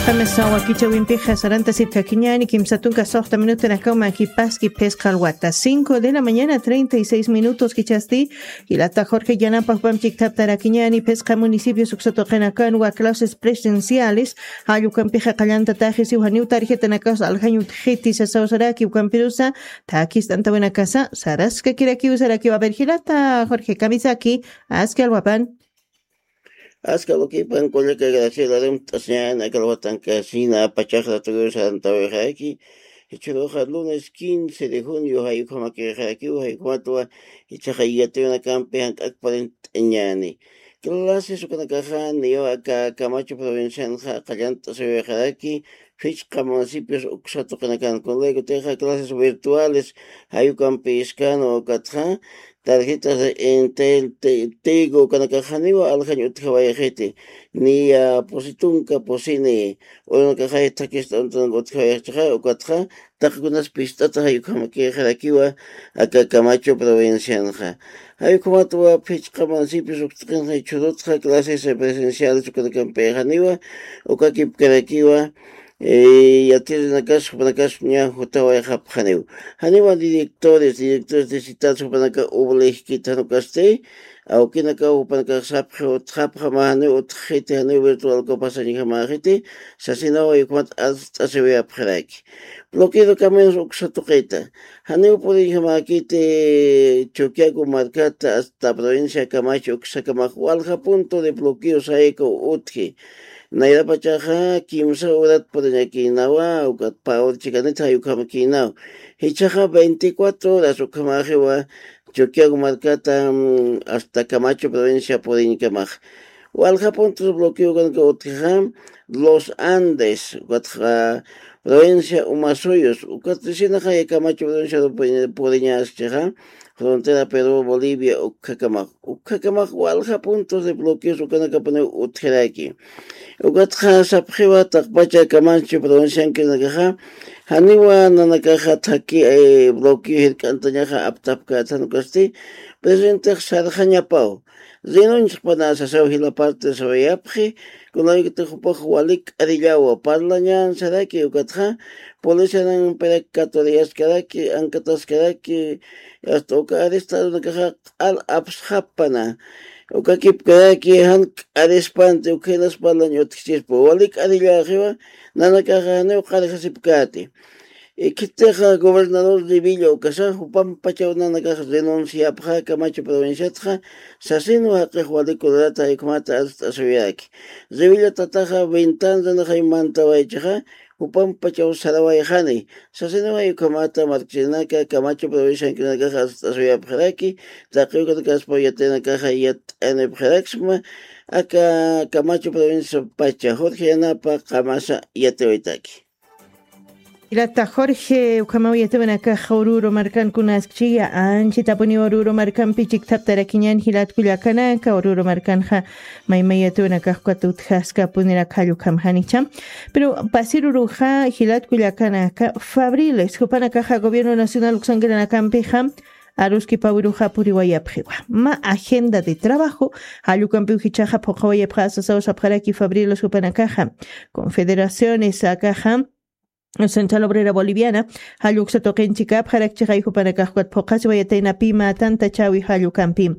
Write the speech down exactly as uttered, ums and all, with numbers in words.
Qamisa wakichawimpixa sarantasirkakiñani kimsa tunka soxta minutanakaw makipaski phisqa alwata cinco de la mañana treinta y seis minutos kichasti. Jilata Jorge yanapa jupam chiktaptarakiñani phisqa municipios uksatuqinakanwa clases presenciales. Jall ukampixa qallantataxi siw janiw tarjetanakas aljañ utjiti sasawsaraki ukampirusa. Takist'antawinakasa saraskakirakiw sarakiw a ver jilata Jorge kamisaki. Aski alwapan. Aska lukipan kullaka Graciela Rimt'asiñan aka alwatankasina pachaxra tuguyu sarantawixaraki. Jichhuruxa lunes quince de junio jayukhamakixarakiw jayukhamatwa jichhaxa yatiwinakampi jank'akparint'añani. Clases ukanakaxa niwa aka Camacho provincianxa qallant'asiwixaraki. Fichqa municipios uksatuqinakan kunlaykutixa clases virtuales jayukampi iskan ukatxa tarjetas de Entel, Te- Tigo, kanakaxaniwa aljañ utjawayxiti, niya pusi tunka pusini, uranakaxay thakist'antanka utjawayxchixa, ukatxa, taqikunas pist'ata jayukhamakixarakiwa, aka Camacho provincianxa. Jayukhamatwa phichqa municipios uktaqinxa churutxa clases presenciales ukanakampixaniwa, ukakipkarakiwa, eh, yatiririnakaspa, jupanakaspa ña jutawayxapxaniw. Janiwa directores, directores de ciudad jupanaka obligkit janukasti, awkinakaw jupanakax sapxi utxapxama janiw utxiti, janiw virtual copasañjamaxiti, sasinaw jayukhamat arst'asiwayapxiraki. Bloqueo de caminos uksa tuqita. Janiw puriñjamakiti Chuquiago markata hasta provincia Camacho uksakamax walja punto de bloqueo sayku utji. Nayrapachaxa kimsa urat puriñakïnawa, ukat pawar chikanit jayukhamakïnaw. Jichhaxa veinticuatro horas ukhamaxiwa Chuquiago markata, mm, hasta Camacho provincia puriñkamax. Walja puntos bloqueo kanaka utjixa, Los Andes, ukatxa provincia Umasuyos, ukat risinaxa Camacho provincia puriñaschixa, frontera Perú, Bolivia, ukhakamax. Ukhakamax walja puntos de bloqueos ukanakapuniw utjiraki. Ukatxa sapxiwa taqpacha Camacho provinciankinakaxa, janiwa nanakaxa thaki, eh, bloqueo jirk'antañaxa aptapkäthan ukasti, presidentix sarxañapaw. Rinunchixpana sasaw jila parte sawayapxi, kunawikiti jupax walik k'arillawa, parlañan saraki ukatxa, policianan pirak katuriyaskaraki, ankataskaraki, hasta uka arrestarunakaxa q'al apsxapana. Ukakipkaraki jan k'arispanti, ukhinas parlañ utjchispa. Walik k'arillaxiwa, nanakaxa janiw qarjasipkäti. Ikhitixa gobernador Revilla ukasa, jupam pachaw nanakax renunciapxa Camacho provinciatxa, sasinwa jaqix walik kururata jayukhamata arst'asiwayaki. Revilla tataxa ventana rinaxay mantawaychixa, jupam pachaw sarawayxani. Sasinwa jayukhamata markchirinaka Camacho provinciankinakax arst'asiwayapxiraki, taqi ukanakaspa yatiyinakaxa yat'anipxiraksma, aka Camacho provincia pacha, Jorge Yanapa, qamasa yatiwaytaki. Ilata Jorge, ukhamaw yatiwinakaxa Oruro markankunaskchiya, anchitapuniw Oruro markampi chiktaptarakiñan jilatkullakanaka, Oruro markanxa maymayatuwinakaxkata utjaskapuniraka jallukhamjanicha. Pero pasiruruxa jilatkullakanaka, Fabriles, jupanakaxa gobierno nacional uksankiranakampixa, aruskipawiruxa puriwayapxiwa. Ma agenda de trabajo, jallukampiw jichhaxa phuqawayapxa sasaw sapxaraki Fabriles jupanakaxa. Confederaciones akaxa, Central Obrera Boliviana, jalluksa tuqinchikapxarakchixay jupanakaxkukat phuqasiwayataynapi mä tantachawi jallukampi.